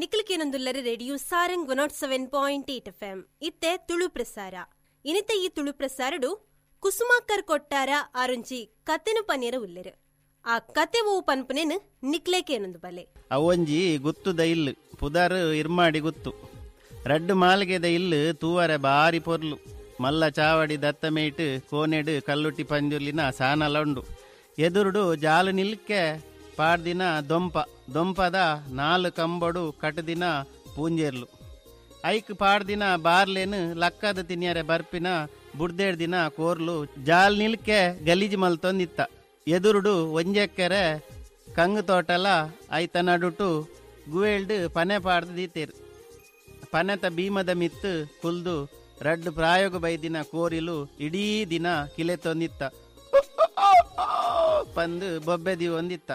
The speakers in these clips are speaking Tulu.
ನಿಖಿಲ್ radio Sarang 107.8 FM ಇತ್ತೆ ತುಳು ಪ್ರಸಾರ. ಇನಿತ ಈ ತುಳು ಪ್ರಸಾರಡು ಕುಸುಮಾಕರ್ ಕೊಟ್ಟಾರ ಆರುಂಚಿ ಕತೆನು ಪನೇರ ಉಲ್ಲೆರು. ಆ ಕತೆ ಓ ಪನ್ಪನೇನು ನಿಕ್ಲೇಕೇನೊಂದು ಬಲೆ. ಅವೊಂಜಿ ಗುತ್ತುದ ಇಲ್ಲು ಪುದಾರು ಇರ್ಮಾಡಿ ಗುತ್ತು ರಡ್ಡು ಮಾಲ್ಗೆದ ಇಲ್ಲು ತೂವರೆ ಬಾರಿ ಪೊರ್ಲು ಮಲ್ಲ ಚಾವಡಿ ದತ್ತಮೇಟು ಕೋನೆಡು ಕಲ್ಲುಟ್ಟಿ ಪಂಜುರ್ಲಿನ ಸಾನಲ ಉಂಡು. ಎದುರುಡು ಜಾಲು ನಿಲ್ಕೆ ಪಾಡ್ದಿನ ದೊಂಪ ದೊಂಪದ 4 ಕಂಬಡು ಕಟದಿನ ಪೂಂಜೇರ್ಲು ಐಕ್ ಪಾಡ್ದಿನ ಬಾರ್ಲೇನು ಲಕ್ಕದ ತಿನ್ಯರೆ ಬರ್ಪಿನ ಬುಡ್ದೇಡ್ ದಿನ ಕೋರ್ಲು ಜಾಲ್ ನಿಲ್ಕೆ ಗಲೀಜು ಮಲ್ತೊಂದಿತ್ತ. ಎದುರುಡು ಒಂಜೆಕ್ಕರೆ ಕಂಗು ತೋಟಲ ಐತ ನಡುಟು ಗುವೇಲ್ಡು ಪನೆ ಪಾಡ್ದು ದೀತೇರು. ಪನೆತ ಭೀಮದ ಮಿತ್ತು ಕುಲ್ದು ರಡ್ಡು ಪ್ರಾಯೋಗ ಬೈದಿನ ಕೋರಿಲು ಇಡೀ ದಿನ ಕಿಲೆ ತೊಂದಿತ್ತ ಪಂದು ಬೊಬ್ಬೆ ಒಂದಿತ್ತ.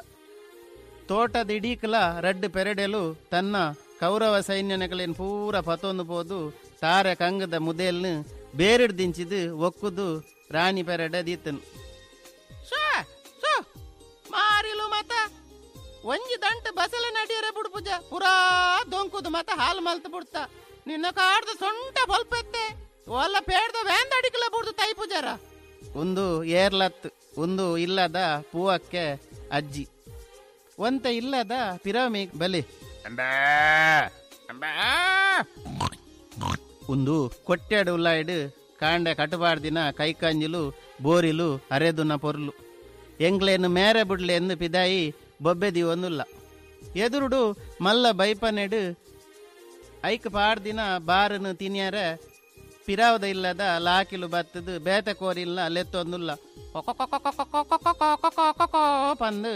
ತೋಟದ ಇಡೀಕಲ ರಡ್ಡು ಪೆರಡೆಲು ತನ್ನ ಕೌರವ ಸೈನ್ಯನಕಲೇನು ಪೂರ ಪತೊಂದು ಪೋದು ತಾರೆ ಕಂಗದ ಮುದೇಲ್ನು ಬೇರಿಡ್ ದಿಂಚಿದು ಒಕ್ಕುದು ರಾಣಿ ಪೆರಡೆ ದೀತನು. ಮಾರಿಲು ಮತ ಒಂಜಿ ದಂಟ ಬಸಲೆ ನಡಿಯರೆ ಬುಡ್ಪುಜ ಪುರಾ ದೊಂಕುದು ಮತ ಹಾಲು ಮಲ್ತು ಬಿಡ್ತ ನಿನ್ನ ಕಾಡ್ದ ಸೊಂಟ ಬಲ್ಪೆತ್ತೆ ಒಲ್ಲ ಪೇಡ್ದ ವ್ಯಾಂದ ಅಡಿಕಲ ಬುಡ್ದು ತೈ ಪೂಜಾರ. ಒಂದು ಏರ್ಲತ್ ಒಂದು ಇಲ್ಲದ ಪೂವಕ್ಕೆ ಅಜ್ಜಿ ಒಂತ ಇಲ್ಲದ ಪಿರಮಿ ಬಲಿ ಒಂದು ಕೊಟ್ಟಾಡು ಉಲ್ಲಾಯ್ಡು ಕಾಂಡೆ ಕಟುಬಾರ್ದಿನ ಕೈಕಂಜಿಲು ಬೋರಿಲು ಅರೆದುನ ಪೊರ್ಲು ಎಂಗ್ಲೇನು ಮೇರೆ ಬುಡ್ಲೆ ಎಂದು ಪಿದಾಯಿ ಬೊಬ್ಬೆದಿ ಒಂದುಲ್ಲ. ಎದುರುಡು ಮಲ್ಲ ಬೈಪನೆಡು ಐಕ್ ಪಾಡ್ದಿನ ಬಾರನು ತಿನ್ಯಾರ ಪಿರಾವದ ಇಲ್ಲದ ಲಾಕಿಲು ಬತ್ತದು ಬೇತ ಕೋರಿಲ್ಲ ಲೆತ್ತೊಂದುಲ್ಲ ಪಂದು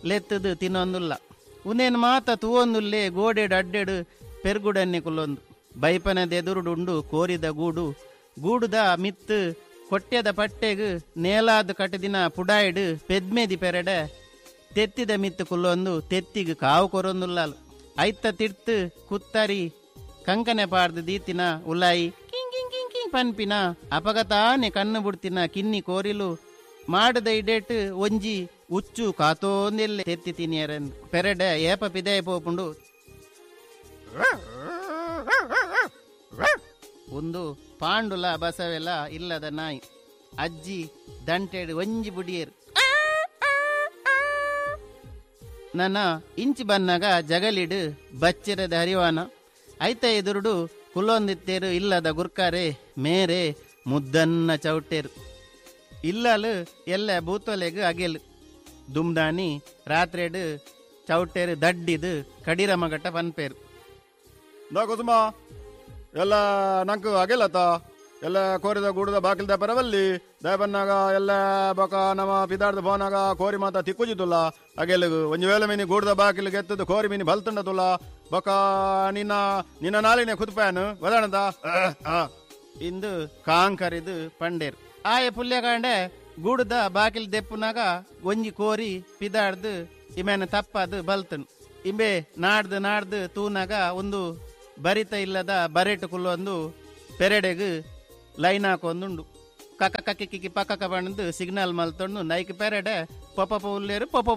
ಲೆತ್ತದು ತಿನ್ನೊಂದುಲ್ಲ. ಉನೇನು ಮಾತ ತೂವೊಂದುಲ್ಲೆ ಗೋಡೆಡು ಅಡ್ಡೆಡು ಪೆರ್ಗುಡನ್ನೆ ಕುಲ್ಲೊಂದು ಬೈಪನದ ಎದುರುಡುಂಡು ಕೋರಿದ ಗೂಡು ಗೂಡುದ ಮಿತ್ತು ಕೊಟ್ಯದ ಪಟ್ಟೆಗು ನೇಲಾದ ಕಟದಿನ ಪುಡಾಯ್ಡು ಪೆದ್ಮೆದಿ ಪೆರಡೆ ತೆತ್ತಿದ ಮಿತ್ತು ಕುಲ್ಲೊಂದು ತೆತ್ತಿಗೆ ಕಾವು ಕೊರೊಂದುಲ್ಲಾಲು ಐತ ತಿರ್ತು ಕುತ್ತರಿ ಕಂಕನೆ ಪಾಡ್ದು ದೀತಿನ ಉಲಾಯಿ ಕಿಂಗ್ ಕಿಂಗ್ ಕಿಂಗ್ ಕಿಂಗ್ ಪನ್ಪಿನ ಅಪಗತಾನೆ ಕಣ್ಣು ಬುಡ್ತಿನ ಕಿನ್ನಿ ಕೋರಿಲು ಮಾಡದ ಇಡೇಟ್ ಒಂಜಿ ಉಚ್ಚು ಕಾತೋಂದೆಲ್ಲೆ ತೆತ್ತಿ ತಿನಿಯರೆಂದು ಪೆರಡೆ ಏಪ ಪಿದಾಯ ಪೋಪುಂಡು. ಒಂದು ಪಾಂಡುಲ ಬಸವೆಲ್ಲ ಇಲ್ಲದ ನಾಯಿ ಅಜ್ಜಿ ದಂಟೆಡು ಒಂಜಿ ಬುಡಿಯರು ನನ್ನ ಇಂಚಿ ಬನ್ನಾಗ ಜಗಲಿಡು ಬಚ್ಚಿರದ ಹರಿವಾನ ಐತ ಎದುರುಡು ಕುಲ್ಲೊಂದಿತ್ತೇರು ಇಲ್ಲದ ಗುರ್ಕಾರೆ ಮೇರೆ ಮುದ್ದನ್ನ ಚೌಟೇರು ಇಲ್ಲಲು ಎಲ್ಲ ಬೂತೊಲೆಗು ಅಗೆಲು ದುಮ್ದಾನಿ ರಾತ್ರಿಡು ಚೌಟೇರು ದಡ್ಡಿದು ಕಡಿರ ಮಗಟ ಪನ್ಪೇರು. ಕುಸುಮ ಎಲ್ಲ ನಂಕು ಅಗೆಲತ ಎಲ್ಲ ಕೋರಿದ ಗೂಡದ ಬಾಕಿಲ್ದ ಪರವಲ್ಲಿ ದಯಬನ್ನಾಗ ಎಲ್ಲ ಬೊಕ ನಮ್ಮ ಪಿದಾರ್ದ ಬೋನಾಗ ಕೋರಿ ಮಾತ ತಿಕ್ಕುಜಿತುಲ್ಲ ಅಗೆಲಗು ಒಂಜಿ ವೇಳೆ ಮೀನಿ ಗೂಡದ ಬಾಕಿಲ್ ಗೆತ್ತದು ಕೋರಿ ಮೀನಿ ಬಲ್ತುಂಡತುಲ್ಲ ಬೊಕ ನಿನ್ನ ನಿನ್ನ ನಾಲಿನ ಕುತ್ಪಾನು ವದಣದ ಇಂದು ಕಾಂಕರಿದು ಪಂಡೇರು. ಆಯ ಪುಲ್ಯಕಾಂಡೆ ಗೂಡದ ಬಾಕಿಲ್ ದೆಪ್ಪುನಾಗ ಒಂಜಿ ಕೋರಿ ಪಿದಾಡ್ದು ಇಮೇನ ತಪ್ಪದು ಬಲ್ತನು. ಇಂಬೆ ನಾಡ್ದು ನಾಡ್ದು ತೂನಾಗ ಒಂದು ಬರಿತ ಇಲ್ಲದ ಬರೆಟು ಕುಲ್ಲೊಂದು ಪೆರಡೆಗು ಲೈನ್ ಹಾಕೊಂದುಂಡು ಕಕ್ಕ ಕಕ್ಕಿ ಕಿಕ್ಕಿ ಪಕ್ಕಕ ಬಂದು ಸಿಗ್ನಲ್ ಮಲ್ತೊಂಡು ನೈಕ್ ಪೆರಡೆ ಪೊಪ್ಪ ಉಲ್ಲೇರು ಪೊಪ್ಪ.